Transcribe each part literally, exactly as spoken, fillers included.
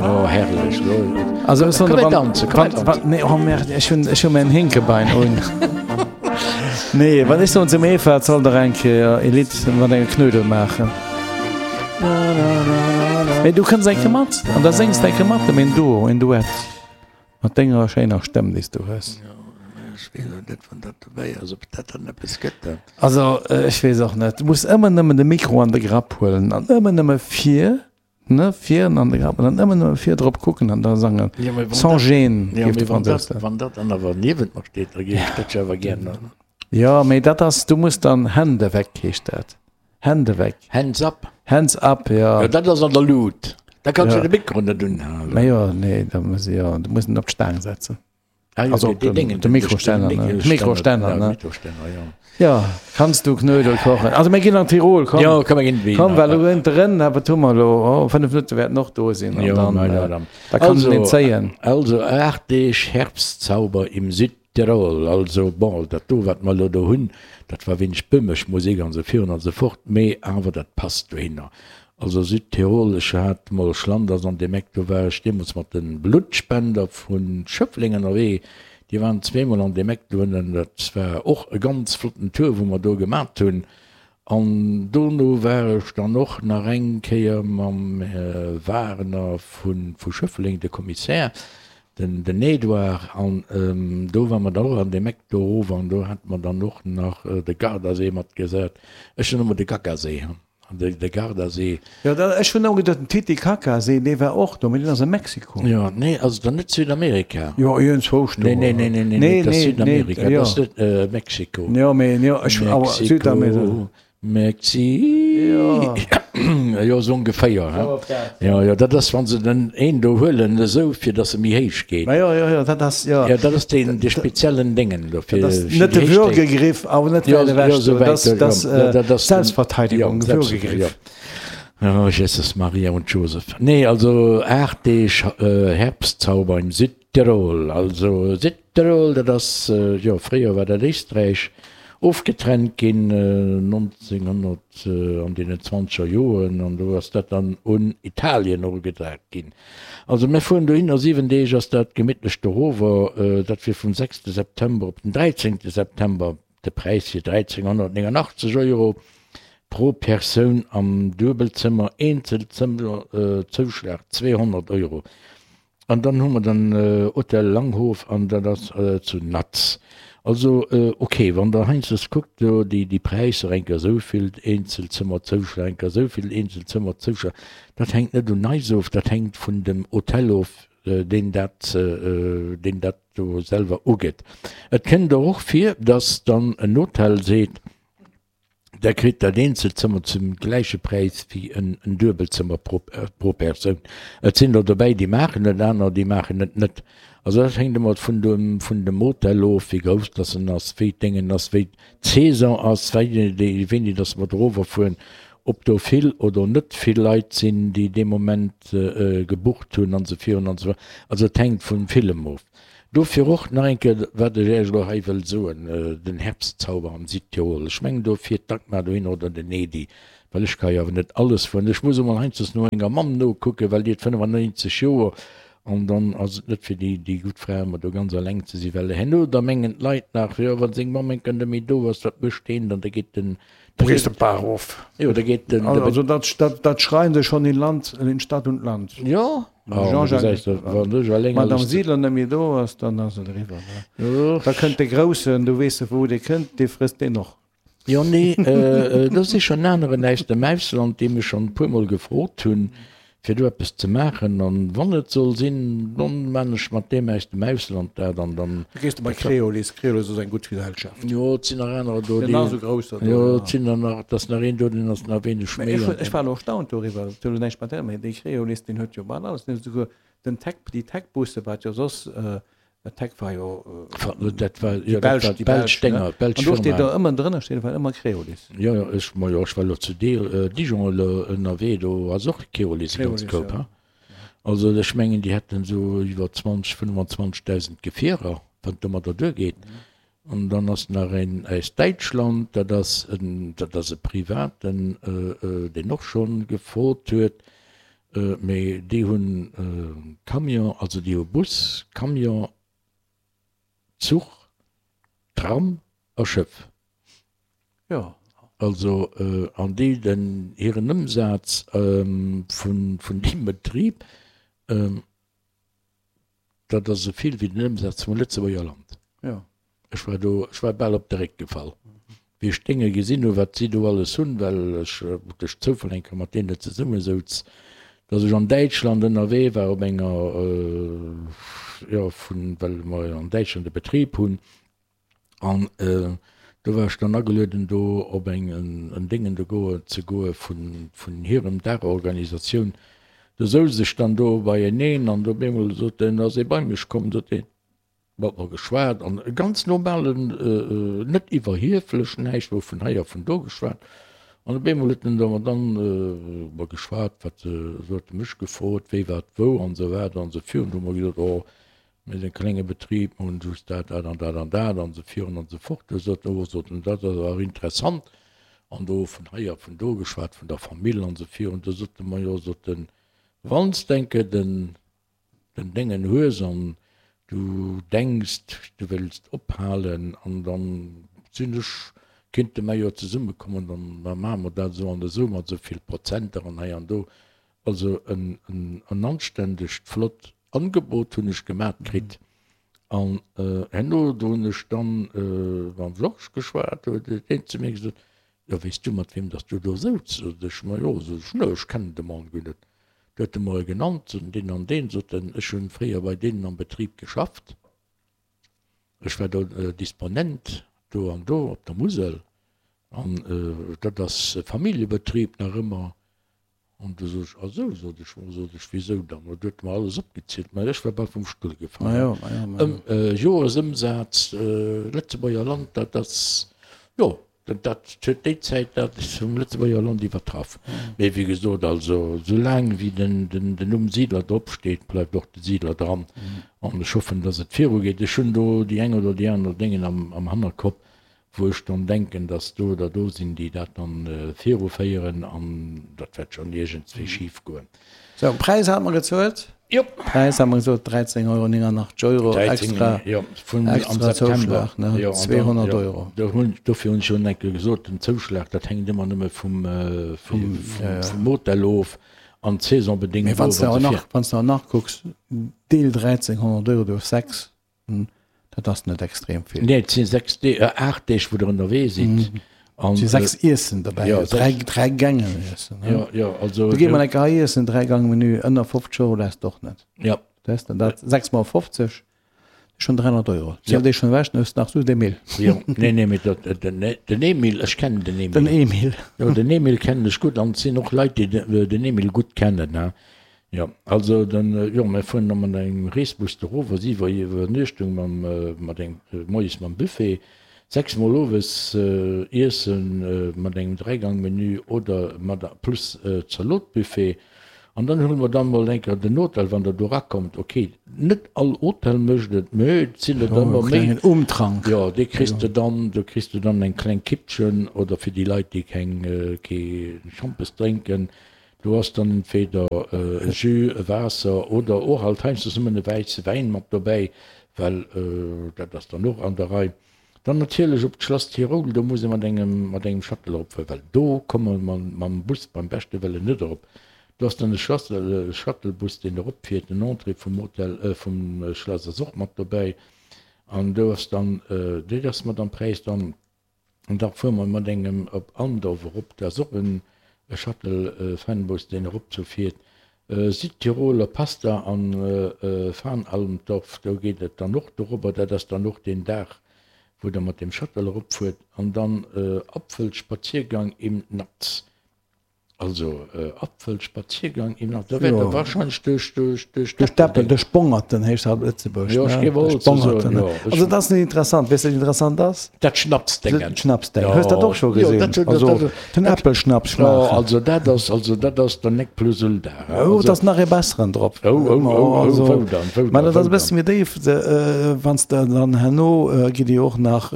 Oh, herrlech. Also ech soen Komm, der, mir wann, tanzen, komm, wann, mir wann, nee, oh merde, ech hunn, ech hunn mäin Hinkebein un. Nee, wann ech soen zum Eva, et soll der eng Kéier e Lidd mat engem Knödel maachen. Mee du kënns eng Kéier mat an da séngs de eng Kéier mat em en Duo, en Duett. Mat denger schéiner Stëmm, déi s du hues. Ech weess och net, wann dat dobäi ass, ob dat dann eppes gëtt dann. Also, ech weess och net. Du muss ëmmer nëmmen de Mikro an de Grapp huelen an ëmmer nëmme vir, ne, vir an de Grapp an dann ëmmer nëmme vir drop kucken an da sangen. Ja, mee wann Sans dat, gêne, ja, géif mee de wann Fransous dat, soen. wann dat dann awer niewent mer steet, da géif ech dat jo awer gär nach. Ja, mee dat ass, du muss dann Hände weg, heescht dat. Hände weg. Hands up. Hands up, ja. Ja, dat ass an der Lut. Da kanns Ja. du de Mikro net unhalen. Mee jo, nee, da muss ich, ja, du muss en op d'Staang setzen. Ah, jo, Also dee- op dee den- Déngen, de Mikroständer, de ne? Mikroständer, Mikroständer, ja, ne? Mikroständer, ja. Ja, kanns du Knödel kochen? Also mir ginn an Tirol, komm. Ja, komm, mir ginn wéi Komm, nach. well elo ënterën, wat hu mer elo? Oh, fënnef Minutte wäerten och do sinn. An Ja, dann, na, ja, äh, dann. da kann Also, een zéien. Also aacht Deeg Herbstzauber im Südtirol. Also bon, dat do, wat mer elo do hunn, dat war wéineg böhmesch Musek an esou virun an esou fort, mee awer dat passt dohinner. Also Südtirol, ech hat mol Schlanders an deem Eck, do war ech deemools mat de Bluttspender vu Schëffleng ënnerwee, déi waren zweemol an deem Eck do ënnen, dat war och e ganz flotten Tour, wou mer do gemat hunn. An dono war ech dann och nach eng Kéier mam Här Wagner vu Schëffleng, de Kommissär, den den Edouard, an do ware mer dann och an deem Eck do erof an do hate mer dann och nach de Gardasee matgesat. Ech hunn ëmmer de Gaggasee. De, de Gardasee. Jo, da, ech hunn ëmmer geduet, den Titicacasee, dee war och do, mee deen ass a Mexiko. Jo, nee, ass et dann net Südamerika? Jo, iergendzwousch do. Nee, nee, nee, nee, nee, nee, dat ass Südamerika, dat ass net äh, Mexiko. Jo, mee, jo, ech, awer Südamerika. Mexi. Jo, esou ongeféier, he? Jo, jo, dat ass, wa se den een do huelen, esou, fir datt e méi héich geet. Ma jo, jo, jo, dat ass, jo. Jo, dat ass deen, dee speziellen Déngen do, fir Dat ass fir net déi de Héicht. Würgegriff, awer net Jo, wäit ewech jo, do. esou Dat wäit, jo, ass, jo, dat ass den, Selbstverteidigung, jo, Würgegriff. Jo. Oh, Jesus, Maria und Josef. Nee, also aacht Deeg Herbstzauber im Südtirol. Also Südtirol, dat ass, jo, fréier war dat Éisträich. Ofgetrennt ginn nonzénghonnert an deenen zwanzeger Joren, an do ass dat dann un Italien erugedrat ginn. Also mir fueren dohinner, siwen Deeg ass dat gemittlech dorower, dat wier vum sechste September op den dräizéngte September. De Präis wier dräizénghonnertnéngundachtzeg Euro pro Persoun am Duebelzëmmer, Eenzelzëmmer Zouschlag zweehonnert Euro. An dann hu mer den Hotel Langhof an dat ass zu Natz. Also ok, wann der heiansdo kuckt do déi déi Präisser, eng Kéier esou vill Eenzelzëmmer Zouschlag, eng Kéier esou vill Eenzelzëmmer Zouschlag, dat hänkt net un eis of, dat hänkt vun dem Hotel of, deen dat deen dat do selwer ugëtt. Et kënnt der och vir, dass dann en Hotel seet, Da kritt dat Eenzelzëmmer zum gläiche Präis wéi en Duebelzëmmer pro Persoun. Et sinn der dobäi, déi maachen et, aner, déi maachen et net. Also dat hänkt ëmmer vun dem, vun dem Hotel of, wéi grouss dass en ass, wéi d'Déngen ass, wéi d'Saison ass, wéini, wéini dass mer dorower fueren, ob do vill oder net vill Leit sinn, déi dee Moment gebucht hunn an esou virun an esou weider. Also et hänkt vu villem of. Dofir och nach eng Kéier, wat ech Iech elo hei wëll soen, den Herbstzauber am Südtirol. Ech mengen, do fiert d'Dagmar dohin oder den Edy, well ech ka jo awer net alles fueren. Ech muss emol heiansdo no enger Mamm nokucken, well déi huet fënnefannonzeg Joer an dann ass et net fir déi, déi gutt Fra ëmmer do ganz eleng ze sinn, well herno da mengen d'Leit nach, jo, wa seng Mamm eng Kéier net méi do ass, wat mécht deen dann? Da geet den, Da gees de d'Bar erof. Jo, da geet den. Also dat, dat, dat schreien se schon in Land, in Stadt und Land. Jo. Jean-Jacques, Madame Siedler net méi do ass, dann ass et eriwwer. Ne? Da kënnt de Groussen, du weess wou dee kënnt, dee frësst deen och. Jo, nee, do si schonn aneren aus dem Ausland, déi mech schonn e puermol gefrot hunn, fir do eppes ze maachen. An wann et soll sinn, dann maan ech mat deem aus dem Ausland dat an dann. Da gees de bei Creolis, Creolis ass eng gutt Gesellschaft. Jo, et sinn nach anerer do, déi. Nach esou grousser do. Jo, et sinn der nach, et ass nach een do, deen ass nach wéineg méi. Mä ech, ech war elo erstaunt doriwwer, dat huet elo näischt mat där, mä dee Creolis, deen huet jo bal alles, deen huet esouguer den Tech, déi Tech-Busse, wat jo soss Tech war jo dat war jo dat war d'belsch Dénger, d'belsch Firma. An do steet do ëmmer drënner steet awer ëmmer Keolis. Jo, jo, ech, ma jo, ech war elo zu Dijon elo ënnerwee, do ass och Keolis e ganz Koup, ha. Also ech mengen, déi hätten esou iwwer zwanzeg, fënnwanzwanzegdausend Gefierer, wann et domadder duergeet. An dann ass nach een aus Däitschland, dat ass en, dat ass e Privaten, deen och scho gefrot huet, Mee déi hunn Camion, also déi hu Bus, Camion, Zuch, Tram a Schëff. Jo. Also, an déi den hiren Ëmsaz vun vun deem Betrib, dat ass esou vill wéi den Ëmsaz vum Lëtzebuerger Land. Jo. Ech war do, ech war bal op de Réck gefall, wéi ech d'Dénge gesinn hunn, wat si do alles hunn, well ech duerch Zoufall eng Kéier mat deenen zesummesouz, datt ech an Däitschland ënnerwee war op enger, jo, vun, well mer an Däitschland e Betrib hunn, An do war ech dann agelueden do op eng en Déngen do goe ze goe vun vun hirem Daachorganisatioun. Do souz ech dann do beieneen an op eemol sot en, ass ee bei mech komm, sot een, mat mer geschwat an e ganz normalen, net iwwerhieflech, näischt wou vun hei a vun do geschwat. An op eemol huet en da mat dann mer geschwat, wat se, huet e mech gefrot, wéi wat wou an esou weider an esou virun. Du hu mer gesot, oh Mir sinn e klenge Betrib, mer hunn just dat, dat an dat an dat an esou virun an esou fort. Du sot en, oh, sot en, dat ass awer interessant. An do vun hei a vun do geschwat, vun der Famill an esou virun. Du sot e, ma jo, sot en, wann s d'enke den, den Déngen hues an du denks, du wéilst ophalen an dann sinn ech, kinnte mer jo zesummekommen, dann da maache mer dat esou an esou mat esou vill Prozenter an hei an do. Also en, en, en anständegt, flott Angebot hunn ech gemat kritt an herno, do hunn ech dann mam Georges geschwat, do huet deen zu mir gesot, jo weess du mat weem dass du do souz? Sot ech, ma jo, sot ech, ne ech kennen de Mann guer net. Du huet e mer e genannt, sot en, deen an deen, sot en, ech hunn fréier bei deenen am Betrib geschafft, ech war do Disponent do an do op der Musel an dat ass e Familljebetrib nach ëmmer. An du sot ech, Ah sou, sot ech, ma sot ech, wisou dann? Ma du huet mer alles opgezielt, mä ech war bal vum Stull gefall. Ma jo, ma jo, ma jo. Joresëmsaz Lëtzebuerger Land, dat ass, jo, dat huet déi Zäit dat vum Lëtzebuerger Land iwwertraff. Mee wéi gesot, also soulaang wéi den Numm Siedler drop steet, bleift och de Siedler dran. An ech hoffen, datt et virugeet. Ech hunn do déi eng oder déi aner Déngen am Hannerkopp, wou ech dann denken, dass do der do sinn, déi dat dann viruféieren, an dat wäert schonn iergendswéi schif goen. Sou, Präis hate mer gezuelt. Jo. Präis hate mer gesot, dräizéng Euro nénganachteg Euro extra, jo, vun am extra September. Zouschlag, ne, Jo, an dann, zweehonnert jo, Euro. do hunn, dofir hunn ech jo eng Kéier gesot, den Zouschlag, dat hänkt ëmmer nëmme vum, Vum, ja, ja. vum Hotel of an d'Saisonbedéngt Mee wann s of de an och esou nach, vir. wann s de och nach kucks, deel dräizénghonnert Euro duerch sechs, Dat ass net extrem vill. Nee, et si sechs Deeg, äh, aacht Deeg, wou Der ënnerwee sidd. An, Et si sechs Iessen dobäi, ja, dräi, sechs. dräi Gängen Iessen. Ne? Ja, ja, also. Du gi mol eng Kéier hei iessen, Dräi-Gang-Menü, ënner fofzeg Euro lässt de och net. Ja. Weess de, dat sechs mol fofzeg, schonn dräihonnert Euro. Ja. Ziel déi schonn ewech, dann hues de nach just Emil. Jo, nee, nee, mee dat, den, den Emil, ech kennen den Emil. Den Emil. Jo, den Emil kennen ech gutt an et sinn och Leit, déi den Emil gutt kennen, ne. Jo, also den, jo, mir fueren da mat engem Reesbus do erof, a siwe Iwwernuechtung mam, mat engem, moies mam Buffet, sechs mol owes Iesse mat engem Dräigangmenü oder mat plus Zalotbuffet. An dann huele mer dann mol eng Kéier den Hotel, wann der do erakommt. Ok, net all Hotel mécht et, mä et sinn der Jo, ëmmer e méi. klengen Umtrank. Jo, dee kriss de dann, do kriss de dann eng kleng Kippchen oder fir déi Leit, déi keng, kee Schampes drénken, Do ass dann entweder e Jus, e Waasser oder och alt heiansdo nëmmen e wäisse Wäin mat dobäi, well dat ass dann och an der Rei. Dann natierlech op d'Schlass Tyrol, do muss ee mat engem mat engem Shuttle eropfueren, well do komme mer mam Bus beim beschte Wëllen net erop. Do ass dann e Shuttlebus, deen eropfiert. Den Entrée vum Hotel, vum Schlass ass och mat dobäi an do ass dann, dat ass mat am Präis dann. An da fuere mer mat engem op Andorf erop, dat ass och en Shuttle-Fanbus, deen erop zou fiert. Südtiroler Pasta an Fanalmdorf, do geet et dann och dorobber. Dat ass dann och deen Dag, wou der mat deem Shuttle eropfuert. An dann Apfelspaziergang im Natz. Also Apfelspaziergang im Nord, da wäert der wahrscheinlech duerch duerch duerch Duerch d'Äppel, duerch Bongerten heescht dat op Lëtzebuerg, Jo, ech ne? géif och Duerch esou soen, Bongerten. jo. Ech Also dat ass net interessant. Weess de wat interessant ass? Dat Schnapsdéngen. D'Schnapsdéngen. Hues dat och scho Jo, gesinn? dat, dat, Also dat, den dat, Äppelschnaps jo, schmaachen. also dat ass, also dat ass der Nec plus ultra, Oh, et also. ass nach ee besseren drop. Oh, oh, oh, oh, Also, wou dann, wou mä dann, dat ass wou e bësse dann? méi déif, de, wann s de dann herno gitt Dir och nach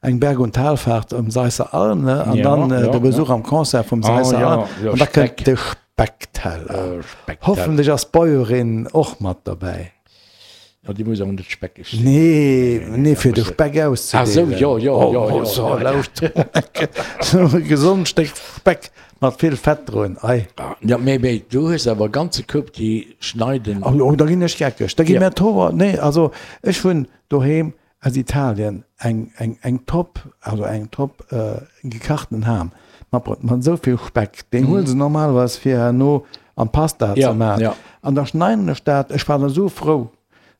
eng Berg und Talfahrt um Seisser Alm, ne? An Ja, dann ja, de ja. Besuch am Concert vum Ah, Seisser ja, Alm. ja, An da kënnt Speck. de Speckteller. Speckteller. Hoffentlech ass d'Bäuerin och mat derbäi. Jo, déi muss awer net speckeg sinn. Nee, nee, fir de Speck auszedeelen. Ah sou, jo, jo, jo, jo. Oh, lauscht, sou e gesond Stéck Speck mat vill Fett drun, ei. Jo, mee, mee du hues awer e ganze Koup, déi schneiden. Oh, da ginn ech geckeg, da gi mir d'Hoer. Nee, also ech hunn doheem aus Italien eng, eng, eng top, also eng top gekachten Ham matbruet, mat esou vill Speck, deen huele se normalerweis fir herno an d'Pasta ze maachen. An da schneiden ech dat, ech war da sou frou.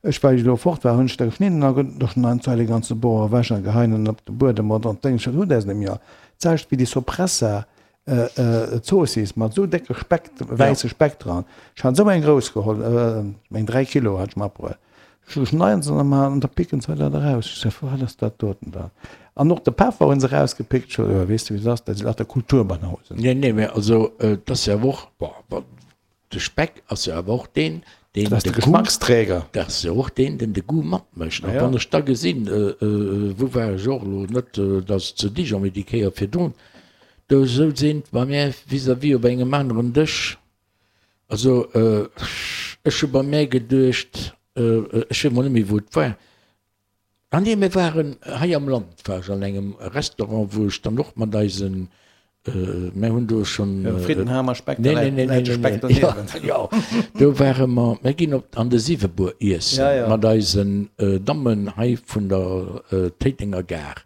Ech, well ech elo fort war, hunn ech der geschnidden a da schneiden d'Zei de ganze Bor ewech a geheien en op de Buedem oder an d'Déngs. Ech hutt äis net méi all. D'selwecht wéi déi Sopressa Zoossiss mat esou décke Speck, wäisse Speck dran. Ech hat esou eng grouss geholl, eng dräi Kilo hat ech matbruet. Ech schneiden se dann emol an da picken se dat eraus. Ech sot, wat ass dat doten dann? An och de Peffer hunn se erausgepickt. Ech sot, jo, weess de wéi et ass, dat si lauter Kulturbanausen. Nee, nee, mä also et ass jo awer och, bon, De Speck ass jo awer och deen, deen de Goût, dat ass jo och deen, deen de Goût matmécht. An wann ech da gesinn, wou war ech och elo net, dat ass zu Dijon, mee déi Kéier virdrun, do souz een bei mär vis-à-vis op engem aneren Dësch, also ech hu bei mär geduecht, ech weess mol net méi wou et war, Ah nee, mir waren hei am Land, war ech an engem Restaurant, wou ech dann och mat eisen, mir hunn do schonn. Frittenham a Speck, nee, nee, nee, nee, Speck doniewent. Jo, do ware mer, mir ginn op an de Siwebuer iessen mat eisen Dammen hei vun der Téitenger Gare,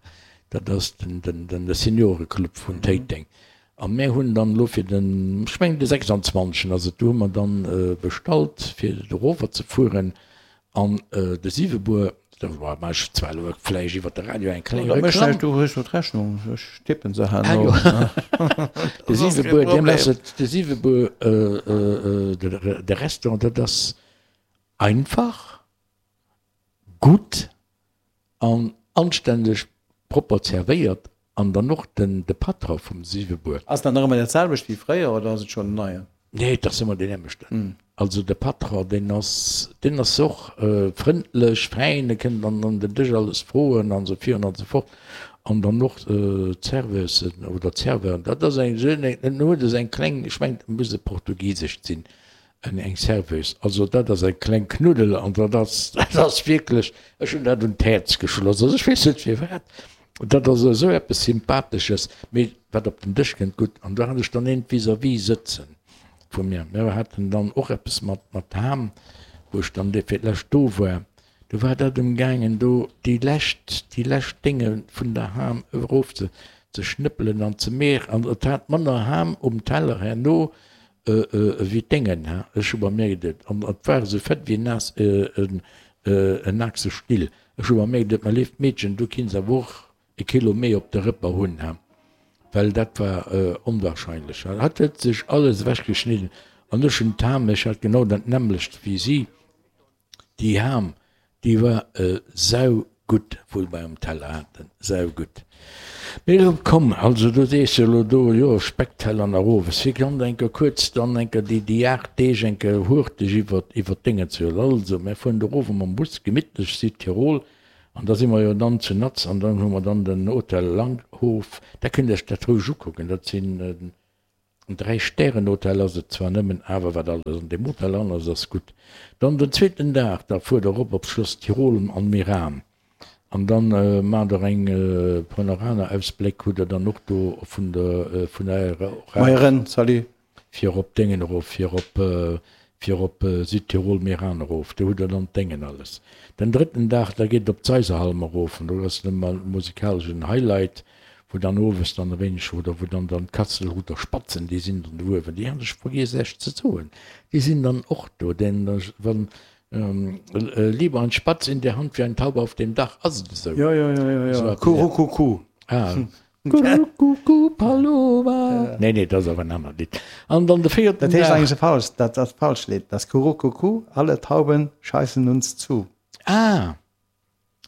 dat ass den, den, de Senioreclub vun Téiteng. A mir hunn dann elo fir den, ech mengen de sechsanzwanzegen ass et, do hu mer dann bestallt fir erover ze fueren an de Siwebuer. Da maache ech zwar elo vläicht iwwer de Radio eng kleng Reklamm. Du hues jo d'Rechnung, ech tippen se herno. De Siwebuer, deem ass et, de Siwebuer, de Restaurant, dat ass einfach, gutt an anstänneg propper zerwéiert an dann och den de Patron vum Siwebuer. Ass dat nach ëmmer dat selwecht wéi fréier oder ass et schonn en neien? Nee, et ass ëmmer deen nämlechten. Also de Patron, deen ass, deen ass och frëndlech, fäin, e kënnt dann an den Dësch alles froen an esou virun an esou fort. An dann och d'Serveusen oder d'Serveuren, dat ass eng, en huet esou eng kleng, ech mengen et muss e portugiesescht sinn, eng Serveuse, also dat ass eng kleng Knuddel an dat ass, dat ass wierklech, ech hunn dat un d'Häerz geschloss, also ech weess net firwat, dat ass esou eppes Sympathesches, mee wat op den Dësch kënnt, gutt. An do hat ech dann eent vis-à-vis sëtzen. Vu mir. Mir haten dann och eppes mat mat Ham, wou ech dann fir d'lescht do war. Do war dat emgaangen, do déi lescht, déi lescht Dénge vun der Ham erof ze ze schnëppelen an ze meer. An et hat manner Ham um Teller herno ewéi d'Déngen, ha. Ech hu bei mir geduet, an et war esou fett wéi en naass en en Achsestill. Ech hu bei mir geduet, Mä léift Meedchen, du kinns awer och e Kilo méi op de Rëpper hunn, ha, well dat war onwahrscheinlech. Hatt huet sech alles ewech geschnidden an ech hunn d'Ham, ech hat genau dat nämmlecht wéi si, déi Ham, déi war saugutt, wou mer um Teller haten, saugutt. Mee elo komm, also du sees jo elo do, jo, Speckteller nach owes, fir ganz eng Kéier kuerz dann eng Kéier déi, déi aacht Deeg eng Kéier hurteg iwwer, iwwer d'Déngen ze huelen. Also, mir fueren do erof mam Bus, gemittlech Südtirol, An da si mer jo dann zu Natz an dann hu mer dann den Hotel Langhof. Da kënnt Iech dat roueg ukucken. Dat sinn en Dräi-Stären-Hotel ass et zwar nëmmen, awer wat alles an deem Hotel dran ass, ass gutt. Dann den zweeten Dag, da fuert Der erop op Schloss Tirol an Meran an dann maacht Der eng Panoranaausbléck hutt Der dann och do vun der vun der Moien, salut. Fir op Déngen erof, fir op, fir op Südtirol, Meran erof, do hutt Der dann d'Déngen alles. Den drëtten Dag, da geet et op d'Seiserhalm erof an do ass dann ëmmer musikaleschen Highlight, wou dann owes dann e wéineg, oder wou dann dann d'Katzelruther Spatzen, déi sinn dann do uewen, déi hat ech vergiess Iech ze soen, déi sinn dann och do, denn wann lieber ein Spatz in der Hand wie ein Taube auf dem Dach, ass et esou? Jo, jo, jo, jo, jo, Kurukuku. Ah. Kurukuku Paloma. Nee, nee, dat ass awer en anert Lidd. An dann de véierten Dat heescht eigentlech falsch, dat ass falscht Lidd. Dat ass Kurukuku, alle Tauben scheißen uns zu. Ah,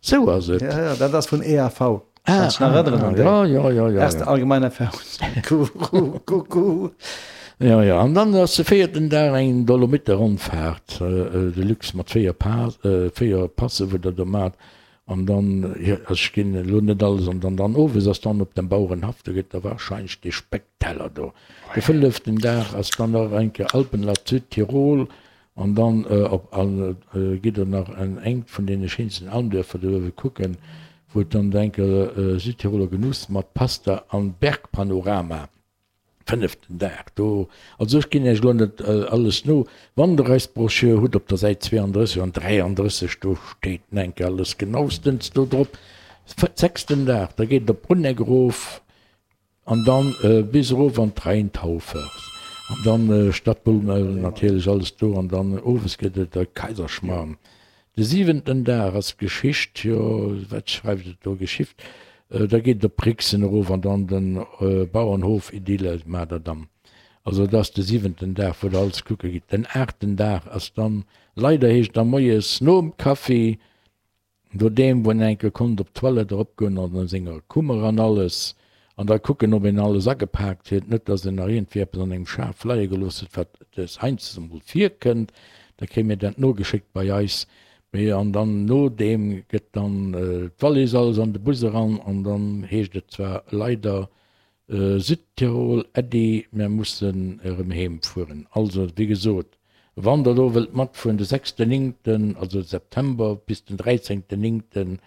sou ass et. Ja, ja, dat ass vun E A V. Ah, Kannst dich nach erinnern an déi? Ja, ja, ja, ja. Erste allgemeine Erfahrungs. Kurukuku. Ja, ja, an dann ass de véierten Dag eng Dolomite-Rondfahrt, Deluxe mat véier Pa, véier Passe, wou der do maacht. An dann, jo, also ech ginn elo net alles an dann, dann owes ass dann op dem Bauerenhaff, do gëtt da wahrscheinlech dee Speckteller do. De fënneften Dag ass dann nach eng Kéier Alpenland Südtirol an dann op an gitt der nach an engt vun deene schéinsten Almdörfer do uewe kucken, wou et dann eng Kéier Südtiroler Genuss mat Pasta an Bergpanorama. Fënneften Dag do. Also ech ginn Iech elo net alles no. Wann Der eis Broschür hutt, op der Säit zweeandrësseg an dräiandrësseg, do steet enke alles genaustens do drop. Sechsten Dag, da geet et op Bruneck erof an dann bis erof an d'Rheintaufers an dann Stadtbummel natierlech alles do an dann owes gëtt et e Kaiserschmarrn. De siwenten Dag ass Geschicht, jo, wat schreift et do, Geschift, da geet et op Brixen erof an dann den Bauernhof Idylle maacht der dann. Also et ass de siwenten Dag, wou der alles kucke gitt. Den aachten Dag ass dann, leider heescht da moies nom Kaffi, Nodeem wou en enke konnt op d'Toilette eropgoen an a senger Kummer an alles, an da kucken ob een alles agepaakt huet, net dass en nach iergendwéi eppes an engem Schaf leie gelooss huet, wat des heiansdo emol virkënnt, da kréie mir dat nogeschéckt bei eis. Mee an dann nodeem gëtt dann d'Wallis alles an de Bus eran an dann heescht et zwar leider Südtirol, Äddi, mär mussen erëm heem fueren. Also wéi gesot, wann der do wëllt matfueren, de sechsten néngten, also September, bis den dräizéngten néngten,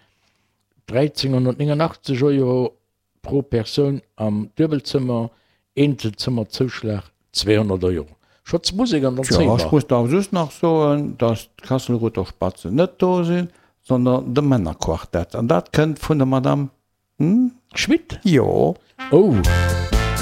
dräizénghonnertnéngundachtzeg Euro pro Persoun am Duebelzëmmer, Eenzelzëmmerzouschlag zweehonnert Euro. Schotz Musek an dann Tjo, zéi ech mer. muss da just nach soen, dass d'Kasselruther Spatzen net do sinn, sondern de Männerquartett. An dat kënnt vun der Madame, hm? Schmit? Jo. Oh.